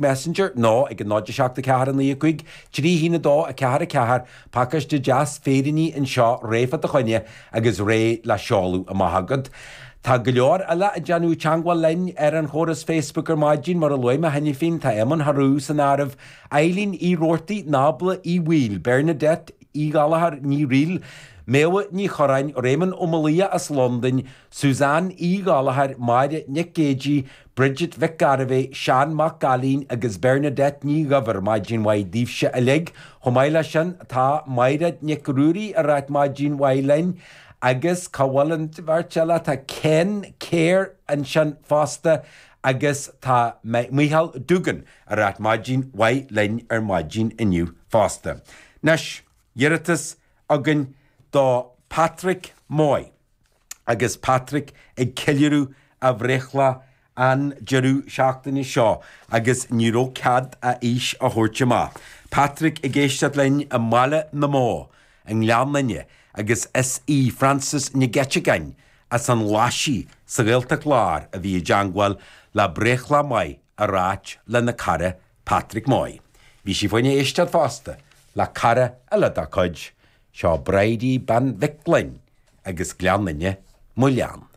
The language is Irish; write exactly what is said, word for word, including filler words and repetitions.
Messenger nó ag an náid a seacht a ceathair a naoi a cúig trí haon a dó a ceathair a ceathair, pacáiste deas féiríní anseo réidh fá do choinne agus réidh le seoladh amach agat. Tá go leor eile ag déanamh teagmháil linn ar an chóras Facebook ar maidin mar a luaigh mé cheana féin tá Éamonn Harú san áireamh, Eileen Uí Roarty, Nábla Uí Bhaoill, Bernadette Uí Ghallachair Ní Riail, Méabha Ní Chorráin, Réamonn Ó Malia as Londain, Suzanne Uí Ghallachair, Máire Nic Géidí, Bridget Mhic Gairbhé, Seán Mac Gailín agus Bernadette Ní Dhuibhir maidin mhaith daoibhse uilig. Chomh maith leis sin tá Máire Nic Ruairí ag ráit maidin mhaith linn. agus cá bhfuil an bheirt eile tá Ken Kerr ansin fosta agus tá Michael Dugan ag ráit maidin mhaith linn ar maidin inniu fosta. Anois iarratas againn do Patrick Moy agus Patrick ag ceiliúradh a bhreithlá an deireadh seachtaine seo agus ní raibh cead a aois a thabhairt amach. Patrick ag éisteacht linn i mBaile na mBó i nGleann Fhinne agus is í Francis Nic Eiteagáin as an Ghlaisigh sa Ghaeltacht Láir a bhí i dteagmháil le breithlá maith a ráit lena cara Patrick Moy. Bhí sí fá choinne éisteacht fosta le cara eile dá cuid, seo Bridie Bean Mhic Gloinn agus Gleann Fhinne mo lean.